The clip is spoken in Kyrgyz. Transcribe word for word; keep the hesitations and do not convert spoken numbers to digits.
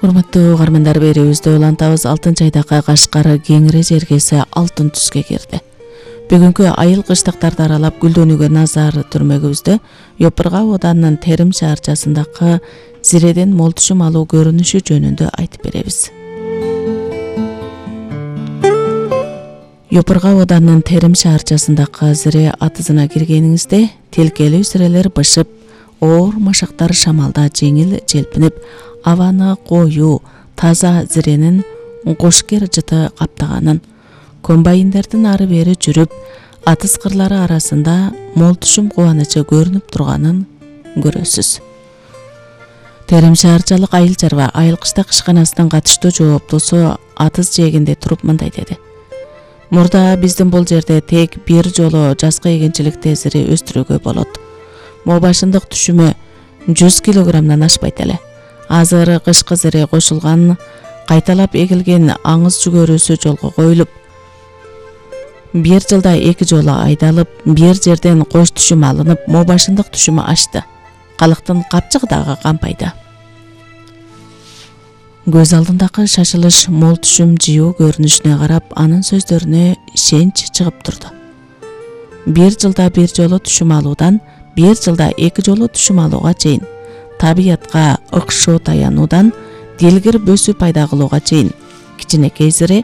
Урматтуу угармандар, берүүбүздө улантабыз. Алтынчы айдакы Кашкар Кеңири жергеси алтын түскө кирди. Бүгүнкү айыл кыштыктарды аралап гүлдөнүүгө назар түрмөгүбүздө Йопурга абаданынын Терим шаарчасындагы зиреден мол түшүм алуу көрүнүшү жөнүндө айтып беребиз. Йопурга абаданынын Терим шаарчасындагы зире атызына киргениңизде тилкелүү зирелер бышып, оор машактар шамалда жеңил желпинип, абаны коюу, таза зиренин кошкер жыты каптаганын, комбайндердин ары бери жүрүп, атыз кырлары арасында мол түшүм кубанычы көрүнүп турганын көрөсүз. Терим шаарчалык айыл чарба айыл кыштак ишканасынын катыштуу жооптосу атыз жээгинде туруп мындай деди: Мурда биздин бул жерде тек бир жолу жазгы эгенчиликте зире өстүрүүгө болот. Могу башындык түшүмү жүз килограммдан ашпайт эле. Азыр кышкы зире кошулган, кайталап эгилген аңыз жүгөрүсү жолго коюлуп, бир жылда эки жолу айдалып, бир жерден кош түшүм алынып, могу башындык түшүмү ашты. Калктын капчыгы дагы кампайда. Көз алдындагы шашылыш мол түшүм жыйуу көрүнүшүнө карап, анын сөздөрүнө ишенч чыгып турду. Бир жылда бир жолу түшүм алуудан бир жылда эки жолу түшүм алууга чейин, табиятка ыкшоо таянуудан дилгир бөсүү пайда кылууга чейин кичинекей зире